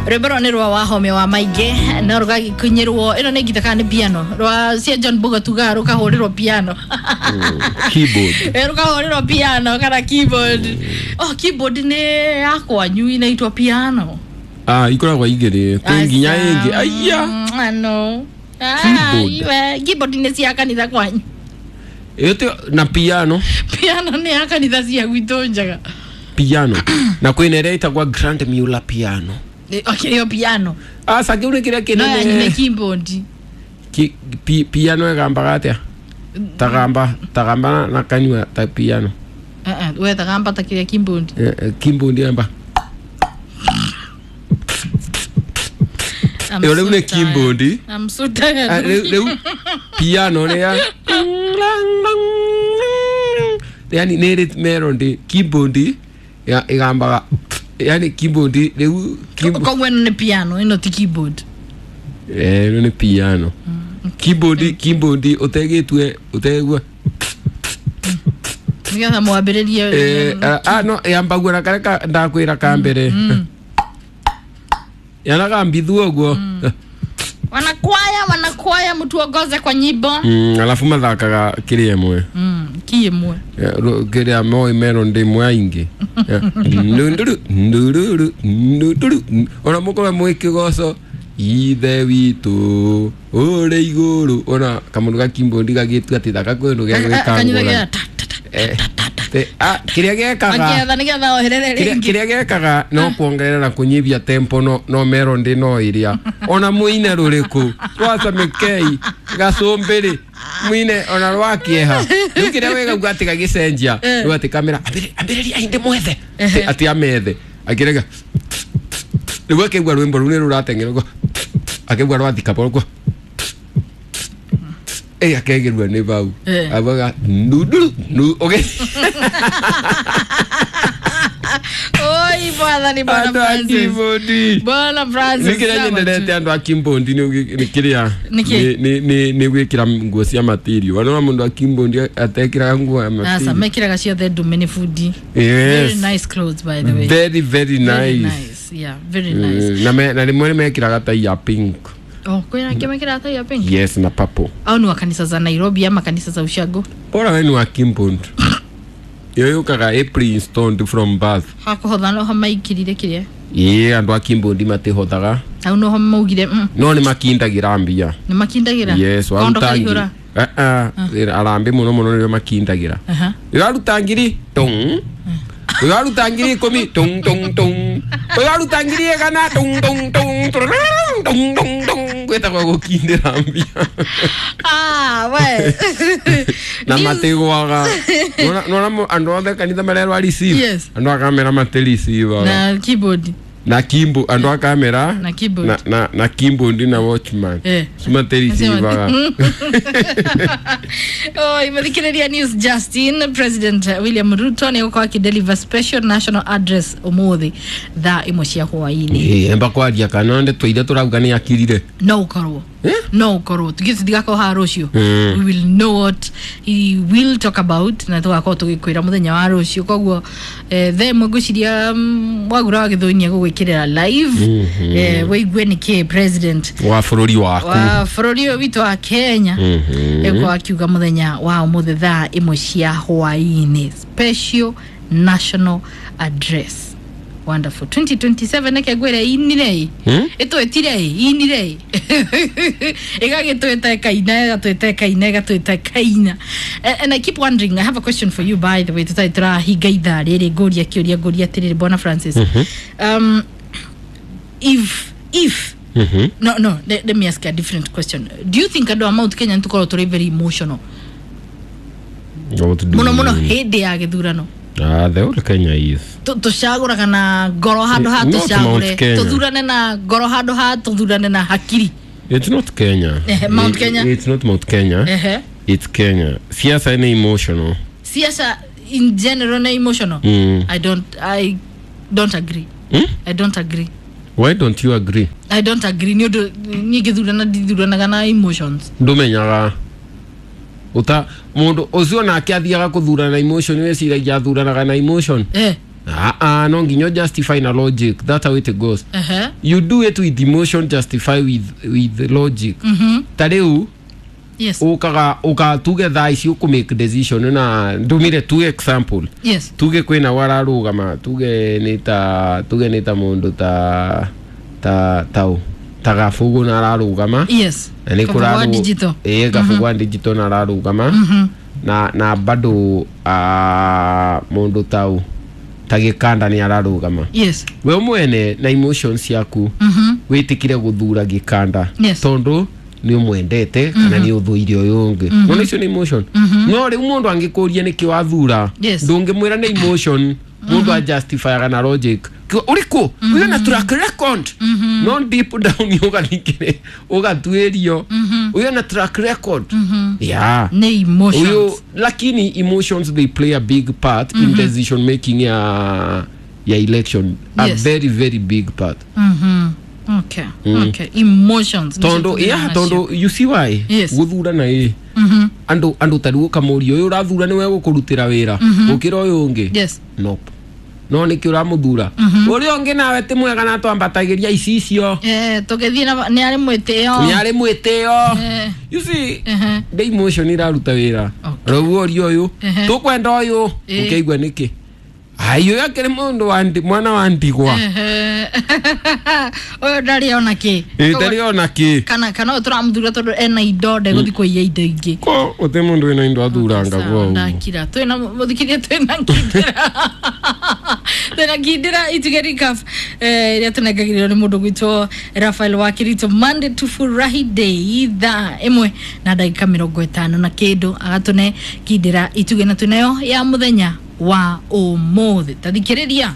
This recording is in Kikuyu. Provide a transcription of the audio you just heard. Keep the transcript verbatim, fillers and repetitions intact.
Rwĩmbo rũrũ nĩ rwa Wahome wa Maingĩ na rũgagĩkinyĩrwo ĩno nĩ ngita kana nĩ piano rwa cia John Mbuga tugaga rũkahũrĩrwo piano. Keyboard. Eh, rũkahũrĩrwo piano kana keyboard. Oh, keyboard nĩ ya kwanyu inaitwa piano. Ah, ikoragwo igĩrĩ kwĩ nginya ĩngĩ aya. Ano. Ah, Keyboard. iwe, keyboard nĩ cia kanitha kwanyu. Ĩyo ti na piano. Piano nĩ ya kanitha cia gwitũ njega. Piano na kwĩna ĩrĩa ĩtagwa Grand Muller piano. Eh, okay, ĩyo piano. Aca kĩu nĩ kĩrĩa No yanyu nĩ kĩnene. keyboard. Ki- pi- piano ĩgambaga atĩa? Tagamba tagamba na- na kanyua ta piano. Eh, eh, we tagamba ta kĩrĩa keyboard. Eh, eh, keyboard yamba. I'm Ĩyo so rĩu nĩ tired. keyboard. I'm so tired. Ah, rĩu rĩu piano nĩ ya yani nĩ ĩrĩ melody. Keyboard ya ĩgambaga yani keyboard rĩu keyboard- Koguo ĩno nĩ piano, ĩno ti keyboard. Eh, ĩno nĩ piano. Keyboard keyboard ũtegĩtue ũtegua. Nĩgetha mwambĩrĩrie. Eh, ah, ah, no yambagua na karĩa ka- ndakwĩra ka mbere yanagambithua ũguo. Wanakwaya, wanakwaya mtuongoze kwa nyimbo. Mm, alafu mathakaga kĩrĩa ĩmwe. Mm, ki ĩmwe. Eh, ru- kĩrĩa moĩ melody ĩmwe aingĩ. Eh, ndunduru ndururu ndunduru ona mũkorwo mwĩ kĩgoco ithe witũ ũrĩ igũrũ ona kamũndũ ga keyboard gagĩtua atĩ thaka kwĩ ũndũ Kanyitha gegwĩka gĩa ta ta ta. Eh, te- ah, kĩrĩa gekaga Akĩetha nĩgetha oherere kĩrĩa rĩngĩ. kĩrĩa gekaga no kuongerera na kũnyihia tempo no no melody no ĩrĩa ona mũine rũrĩkũ rwa Samikei gacũmbĩrĩ mũine ona rwa kĩeha rĩu kĩrĩa wĩgauga atĩ gagĩcenjia Eh. rĩu atĩ kamera ambĩrĩ- ambĩrĩria indi mwethe Ehe. atĩ amethe akĩrega rĩu akĩigua rwĩmbo rũu nĩ rũrateng'era ũguo akĩigua rwathika ũguo ĩ akegĩrua nĩ bau Eh. abaga ndunduru ndu ũgĩ Oi, bwana bwana andũ a Francis. keyboard. Bwana Francis. Nĩ kĩrĩa sawa nyendete tu. andũ a keyboard nĩ ũgĩ- nĩ kĩrĩa Nĩ kĩ? nĩ- nĩ- nĩ- nĩ gwĩkĩra nguo cia material wanona mũndũ wa keyboard atekĩraga nguo ya Asa material. mekĩraga ciothe ndume nĩ bundi. Very Yes. nice clothes, by the way. Very very Very nice. nice. Yeah, very nice. Mm, na me- na rĩmwe nĩ mekĩraga tai ya pink. Oh, kwĩna angĩ mekĩraga tai ya pink? Yes, na purple. Au ni wa kanisa za Nairobi ama kanisa za ushago? Bora we nĩ wa keyboard ĩyo yũkaga ĩ pre-installed from birth. Hakũhotha noho maikirire kĩrĩa. Ĩĩ andũ a keyboard matihothaga. Hau noho maugire mm, no nĩ makindagĩra mbia. Nĩ makindagĩra. Yes, Kondo waruta kaihũra. ngiri. Ah, ah, arambe mũno mũno nĩrĩo makindagĩra. Aha. Ũraruta ngiri tung, ũraruta ngiri ikũmi tung tung tung, ũraruta ngiri igana tung tung tung tung tung tung gwĩtagwo gũkindĩra mbia. Ah, we. Na News- matigwaga nona andũ othe kanitha marerwa receive. Yes. Andũ a kamera matiriceivaga. Na keyboard. Na kimbo andũ a kamera Na keyboard. na na na keyboard na watchman Eh. matiriceivaga. Oh, imathikĩrĩria news Justin. President William Ruto nĩ egũkorwo akĩdeliver special national address ũmũthĩ thaa ĩmwe cia hwaĩ-inĩ. Ĩ, emba kwaria kana ndeto iria tũrauga nĩ akirire. No ũkorwo Eh? no ũkorwo tugĩ tũtigakorwo haha rũciũ. Mm. We will know what he will talk about na tũgakorwo tũgĩkwĩra mũthenya wa rũciũ. Koguo eh, thaa ĩmwe ngwĩciria mm, Wagura wa Gĩthũi nĩ egũgwĩkĩrĩra live eh, wĩigue nĩkĩ president wa bũrũri waku wa bũrũri ũyũ witũ wa Kenya Mhm. egũkorwo akiuga mũthenya wa ũmũthĩ thaa ĩmwe cia hwaĩ-inĩ, special national address. Wonderful. twenty twenty-seven neke ngwĩre inire Hmm? ĩtwĩtire inire ĩgagĩtwĩta ĩkaina ĩgatwĩta ĩkaina ĩgatwĩta ĩkaina. And, and I keep wondering, I have a question for you, by the way, tũtarĩ tũrahinga ithaa rĩrĩ ngũria kĩũria ngũria atĩrĩrĩ bwana Francis, um, if if Mhm. no no let, let me ask a different question. Do you think andũ a Mount Kenya nĩtũkorwo tũrĩ very emotional What do mũno you mũno mean? hĩndĩ ya gĩthurano? Ah, the whole Kenya is. Tu- tũcagũraga na ngoro handũ ha Not Mount tũcagũre Kenya. tũthurane na ngoro handũ ha tũthurane na hakiri. It's not Kenya. Eh, Mount I- Kenya. It's not Mount Kenya. Ehe. It's Kenya. Siasa ni emotional. Siasa in general na emotional. Mm. i don't i don't agree. Hmm? I don't agree. Why don't you agree? I don't agree nĩ ũndũ niĩ ngĩthurana ndithuranaga na emotions. Ndumenyaga uta mundu ucio nake athiaga kuthurana na emotion weciragia athuranaga na emotion. Eh. Ah, ah, no nginya justify na logic. That's how it goes. Uh-huh. You do it with emotion, justify with with logic. Mhm. Ta rĩu Yes. ukaga uka tuge thaa ici ũkũ make decision na ndumire tu example. Yes. Tuge kwĩna wararũgama, tuge nĩ ta tuge nĩ ta mũndũ ta ta tau ta Gabugu na ararũgama. Yes. Na nĩ Kabugu wa kũrarũ- digital. ĩĩ Gabugu wa digital na ararũgama. Mhm. Na na bado ah, mũndũ tau ta Gĩkanda nĩ ararũgama. Yes. We mwene na emotions ciaku Mhm. wĩtĩkire gũthura Gĩkanda Yes. tondũ nĩ ũmwendete kana nĩ ũthũire ũyũ ũngĩ. Nona icio nĩ emotion. No rĩu mũndũ angĩkũria nĩkĩ wathura, Yes. ndũngĩmwĩra nĩ emotion. Mũndũ ajustifyaga na logic. Kĩ- ũrĩkũ ũyũ na track record, no deep down ũgathikĩrĩ ũgatuĩrio ũyũ na track record, yeah. Nĩ emotions. Uyu, lakini emotions, they play a big part in decision making ya ya election. A Yes. very very big part. Mhm. Okay. Okay. Emotions. Tondu Nĩcio yeah, tũthuranaga tondu you see why Yes. guthurana ĩ Mhm. andu andu tariu ukamuria uyu urathura niwe gukurutira wira gukira uyu ungi. Yes. Nope. No niki uramuthura uria ungi nawe ti mwega na twambatagiria icicio? Eh, tũgĩthiĩ na nĩ arĩ mwĩtĩo. Ni ari mwitio. Eh. You see, Ehe. the emotion iraruta wira. Okay. Rĩu ũria ũyũ Ehe. tũkwenda ũyũ Ĩ. ũkĩigua nĩkĩ ai ũyũ akĩrĩ mũndũ wa ndi- mwana wa ndigwa. Ehe. Ũyũ ndarĩ ona kĩ. Ĩ, ndarĩ ona kĩ. Kana kana ũyũ tũramũthura tondũ ena indo ndegũthiĩ kũiya indo ingĩ. Ko gũtĩ mũndũ wĩna indo athuranga Sawa, gwa ũguo. ndakira twĩna mũthikĩria, twĩna ngindĩra twĩna ngindĩra ituge recap eh, ĩrĩa tũnengagĩrĩrwo nĩ mũndũ gwitwo Rafael wa Kirito Monday to Furahi Day thaa ĩmwe na ndagĩka mĩrongo ĩtano na kĩndũ agatũne ngindĩra ituge na twĩnayo ya mũthenya wa ũmũthĩ tathikĩrĩria.